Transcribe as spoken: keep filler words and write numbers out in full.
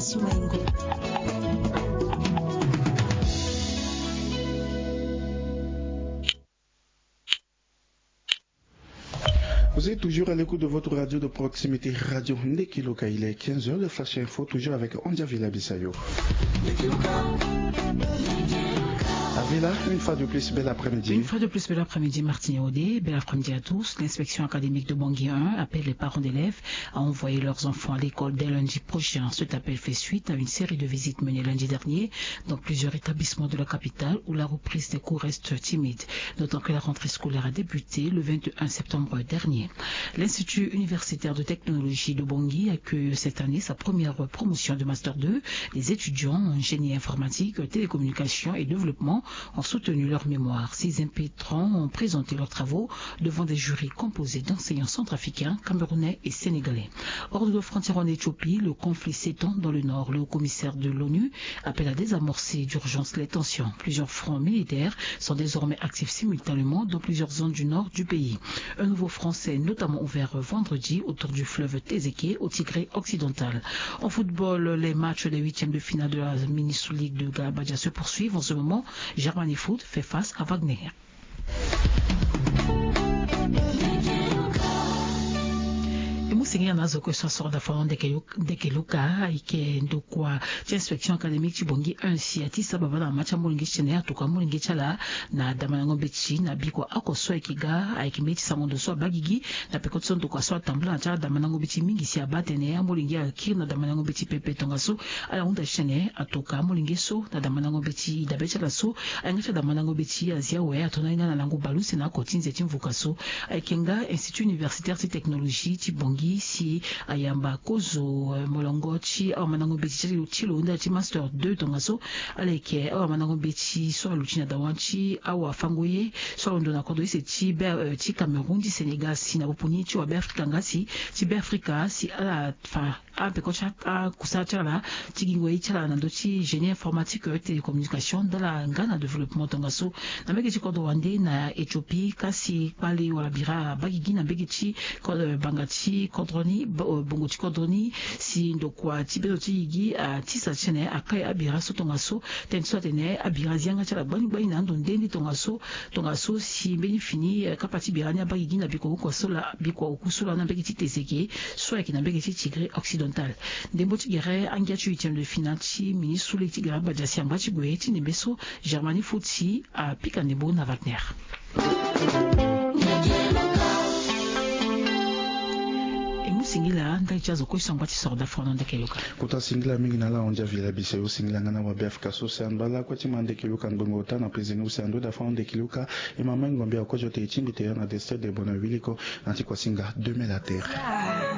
Vous êtes toujours à l'écoute de votre radio de proximité, Radio Ndekeloka. Il est quinze heures, le Flash Info, toujours avec Andia Villa Bissayo. Avila, une fois de plus, bel après-midi. Une fois de plus, bel après-midi, Martine Audé. Bel après-midi à tous. L'inspection académique de Bangui un appelle les parents d'élèves à envoyer leurs enfants à l'école dès lundi prochain. Cet appel fait suite à une série de visites menées lundi dernier dans plusieurs établissements de la capitale où la reprise des cours reste timide, d'autant que la rentrée scolaire a débuté le vingt et un septembre dernier. L'Institut universitaire de technologie de Bangui accueille cette année sa première promotion de Master deux. Les étudiants en génie informatique, télécommunication et développement ont soutenu leur mémoire. Six impétrants ont présenté leurs travaux devant des jurys composés d'enseignants centrafricains, camerounais et sénégalais. Hors de nos frontières en Éthiopie, le conflit s'étend dans le nord. Le haut commissaire de l'ONU appelle à désamorcer d'urgence les tensions. Plusieurs fronts militaires sont désormais actifs simultanément dans plusieurs zones du nord du pays. Un nouveau front s'est notamment ouvert vendredi autour du fleuve Tézéké au Tigré occidental. En football, les matchs des huitièmes de finale de la Mini League de Garabadja se poursuivent en ce moment. Germany Foot fait face à Wagner. E mu sengela na azo kue so asoro dafano ndeke luka ayeke ndokua ti inspection académique ti Bangui un si atisa babâ na mama ti amolenge ti tene atuka amolenge ti ala na damandango mbeti na bikua oko so ayeke ga ayeke mbeti sango ndo so abaa gigi. Na peko ti so ndokua so atambula na ti ala damandango mbeti mingi si abaa atene amolenge akiri na damandango mbeti pepe tongaso ala hunda ti tene atuka amolenge so na damandango mbeti dabe ti ala so. Ayanga ti adamandango mbeti azi awe ato na hinga na lango baleuse na oko ti nze ti mvuka so. Ayeke nga institut universitaire ti technologie ti Bangui si ayamba kozo molongo ti awamandango mbeti ti lo ti lo nda ti master deux tongaso. Ala yeke awamandango mbeti so aluti na dawa ti awafango ye so alondo na kodro use ti Cameroun ti Sénégal si na popo ni ti wabe afrika nga si ti be afrika si ala fa apeko ti akusala ti ala ti gingo ye ti ala na ndö ti génie informatique télécommunication ndala nga na développement tongaso. Na mbege ti kodro wande na Éthiopie kasi kpale wala bira abaa gigi na mbege ti banga ti kodro ni bongo ti kodro ni si ndokua ti bezo ti gigi atisa ti tene akai abira so tongaso. Tene so atene abira azi yanga ti ala gbani gbani na ando nde nde tongaso. Tongaso si mbeni fini kapa ti bira ni abaa gigi na bikua oko so laa bikua oku so laa na mbege ti Tézéké so ayeke na mbege ti Tigré occidental. Ndembo ti gere angia ti huitième de finale ti mini sule ti gere abadia si angba ti gue ti ndembe so Germany Foot si apika ndembo na Wagner. E mu singila ndali ti azo kue so angba ti soro dafrono ndeke yoka. Kota singila mingi na ala ahon dia vila biso yo singila nga na wabe afrika so si angba lakue ti ma ndeke yoka ngbongo ota na prisonnier use ando dafrono ndeke yoka. E ma ma ngombe akozo te e tingbi te yo na destin de bona wiliko na ti kua singa deux mille à terre.